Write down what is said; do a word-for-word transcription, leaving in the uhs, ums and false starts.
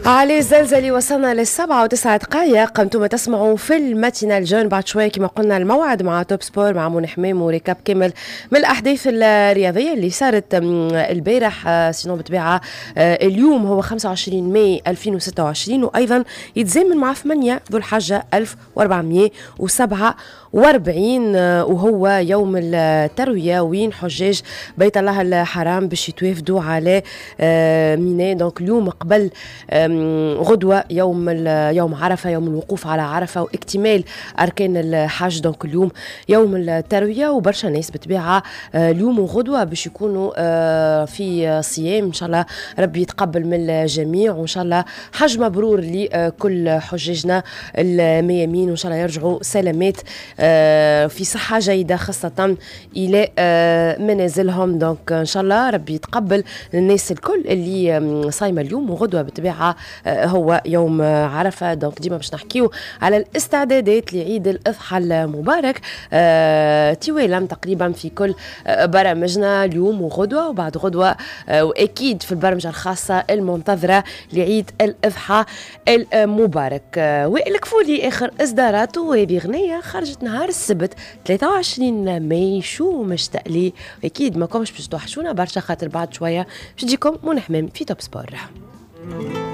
علي الزلزلي. وصلنا للسبعة وتسعة دقائق، انتم تسمعوا في ال matinale jeune. بعد شوية كما قلنا الموعد مع Top Sport مع منى حمام و récap كامل من الأحداث الرياضية اللي صارت البارح. sinon بالطبيعة آه، اليوم هو خمسة وعشرين ماي ألفين وستة وعشرين، وأيضا يتزامن مع ثمانية ذو الحجة ألف وأربعمية وسبعة وأربعين، آه، وهو يوم التروية، وين حجاج بيت الله الحرام باش يتوافدوا على آه، منى. donc اليوم قبل غدوة يوم يوم عرفة، يوم الوقوف على عرفة واكتمال أركان الحج. donc اليوم يوم التروية، وبرشا ناس بالطبيعة آه، اليوم وغدوة باش يكونوا آه، في صيام. إن شاء الله ربي يتقبل من الجميع، وإن شاء الله حج مبرور لكل حجاجنا الميامين، وإن شاء الله يرجعوا سلامات آه، في صحة جيدة خاصة إلى منازلهم. donc إن شاء الله ربي يتقبل الناس الكل اللي صايمة اليوم، وغدوة بالطبيعة هو يوم عرفة. donc ديما باش نحكيو على الاستعدادات لعيد الأضحى المبارك آه، توالا تقريبا في كل برامجنا اليوم وغدوة وبعد غدوة، آه، وأكيد في البرمجة الخاصة المنتظرة لعيد الأضحى المبارك. آه، وائل كفوري آخر إصداراته، وهذه غنية خرجت نهار السبت ثلاثة وعشرين ماي، شو مشتاق لي. أكيد ما كومش باش توحشونا برشا، خاطر بعد شوية باش تجيكم منى حمام في Top Sport.